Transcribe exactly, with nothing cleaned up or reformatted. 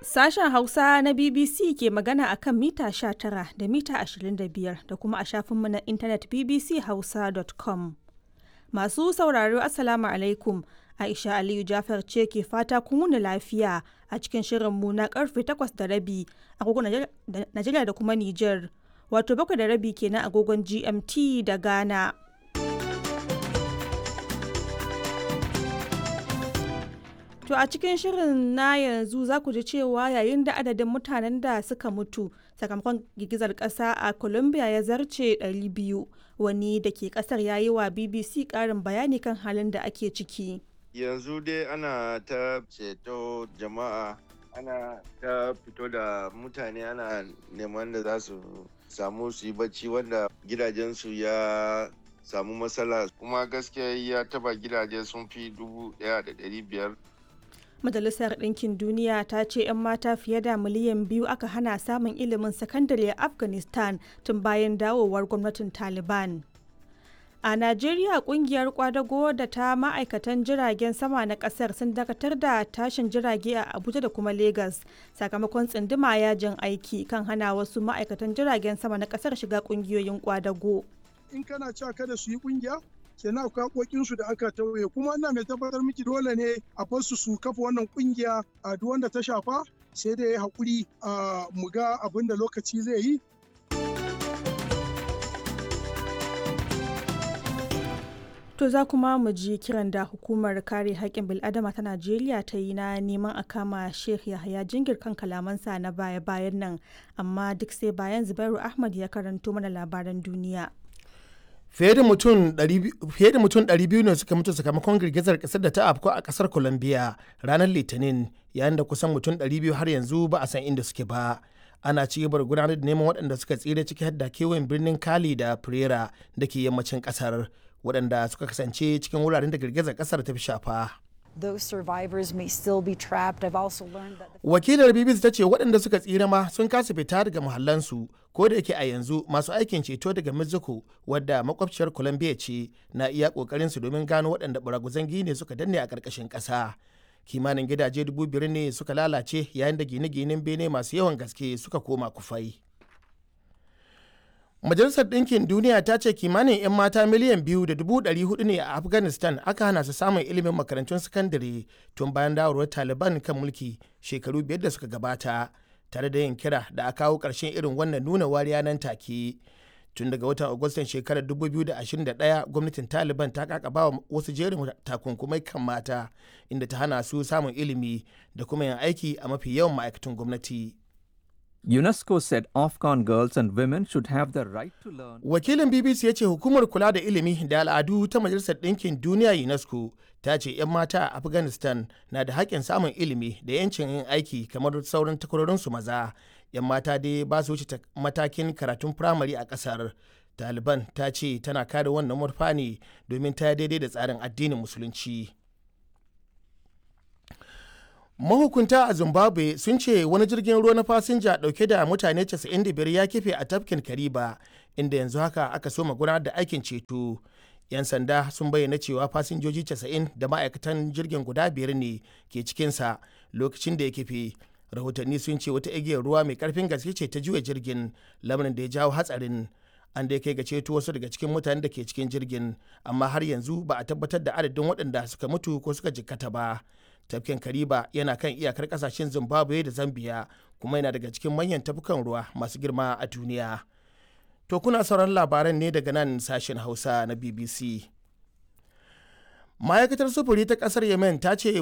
Sashen Hausa na B B C ke magana a kan mita sha tara da mita ashirin da biyar da kuma a shafinmu na intanet B B C hausa dot com. Masu sauraro, Assalamu alaikum. Aisha Aliyu Jafar ce ke fata kun wuni lafiya a cikin shirinmu na karfe takwas da rabi agogon Najeriya da kuma Nijar. Wato bakwai da rabi kenan agogon G M T da Ghana. To a cikin shirin na yanzu za ku ji cewa yayin da adadin mutanen da suka mutu sakamakon girgizar ƙasa a Colombia ya zarce ɗari biyu, wani da ke ƙasar ya yi wa B B C ƙarin bayani kan halin da ake ciki. Yanzu dai ana ta ceto jama'a, ana ta fito da mutane, ana neman da za su samu su yi bacci wanda gidajensu ya samu matsala, kuma gaskiya ya taba gidaje sun fi dubu ɗaya da ɗari biyar. Majalisar Ɗinkin Duniya ta ce 'yan mata fiye da miliyan biyu aka hana samun ilimin sakandare a Afghanistan tun bayan dawowar gwamnatin Taliban. A Najeriya, kungiyar kwadago da ta ma'aikatan jiragen sama na kasar sun dakatar da tashin jirage a Abuja da kuma Lagos sakamakon tsinduma yajin aiki kan hana wasu ma'aikatan jiragen sama na kasar shiga kungiyoyin kwadago. In kana cewa kada su yi kungiya, kenan akwai haƙoƙinsu da aka tauye. Kuma ina mai tabbatar miki, dole ne a bar su su kafa wannan kungiya. A duk wanda ta shafa sai dai haƙuri a mu ga abin da lokaci zai yi. To za kuma mu ji kiran da hukumar kare haƙƙin bil'adama ta Najeriya ta yi na neman a kama Sheikh Yahaya Jingir kan kalamansa na baya-bayan nan, amma duk sai bayan Zubairu Ahmad ya karanto mana labaran duniya. Fiye da mutum ɗari biyu ne suka mutu sakamakon girgizar kasar da ta afku a kasar Colombia ranar Litinin, yayin da kusan mutum ɗari biyu har yanzu ba a san inda suke ba. Ana ci gaba da gudanar da neman waɗanda suka tsira, ciki har da kewayen birnin Cali da Pereira da ke yammacin kasar, waɗanda suka kasance cikin wuraren da girgizar kasar ta fi shafa. Those survivors may still be trapped. I've also learned that the Wakilar B B C ta ce waɗanda suka tsira ma sun kasa fita daga muhallansu, ko da yake a yanzu masu aikin ceto daga Mexico, wadda makwabciyar Colombia ce, na iya kokarin su domin gano waɗanda baraguzan gine suka danne a ƙarƙashin ƙasa. Kimanin gidaje dubu biyar ne suka lalace, yayin da gine-ginen bene masu yawan gaske suka koma kufai. Majalisar Ɗinkin Duniya ta ce kimanin 'yan mata miliyan biyu da dubu ɗari hudu ne a Afghanistan aka hana su samun ilimin makarantun sakandare tun bayan dawarwar Taliban kan mulki shekaru biyar da suka gabata, tare da yin kira da a kawo ƙarshen irin wannan nuna wariya nan take. Tun daga watan Agustan shekarar dubu biyu da ashirin da ɗaya, gwamnatin Taliban ta kakaba wa wasu jerin takunkumai kan mata, inda ta hana su samun ilimi da kuma yin aiki a mafi yawan ma'aikatan gwamnati. UNESCO said Afghan girls and women should have the right to learn. Wakilin B B C ya ce hukumar kula da ilimi da al'adu ta Majalisar Ɗinkin Duniya UNESCO ta ce 'yan mata a Afghanistan na da haƙƙin samun ilimi da 'yancin yin aiki kamar sauran takwarorinsu maza. 'Yan mata dai ba su wuce matakin karatun firamare a ƙasar. Taliban ta ce tana kare wannan murfa ne domin ta daidai da tsarin addinin Musulunci. Mahukunta a Zimbabwe sun ce wani jirgin ruwa na fasinja dauke da mutane casa'in da biyar ya kife a tafkin Kariba, inda yanzu haka aka soma gudanar da aikin ceto. Yan sanda sun bayyana cewa fasinjoji casa'in da ma'aikatan jirgin guda biyar ne ke cikinsa lokacin da ya kife. Rahotanni sun ce wata igiyar ruwa mai karfin gaske ce ta juya jirgin, lamarin da ya jawo hatsarin. An dai kai ga ceto wasu daga cikin mutanen da ke cikin jirgin, amma har yanzu ba a tabbatar da adadin waɗanda suka mutu ko suka jikkata ba. Tafkin Kariba yana kan iyakar kasashen Zimbabwe da Zambia, kuma yana daga cikin manyan tafkukan ruwa masu girma a duniya. To kuna sauran labaran ne daga nan Sashen Hausa na B B C. Ma'aikatar sufuri ta kasar Yemen ta ce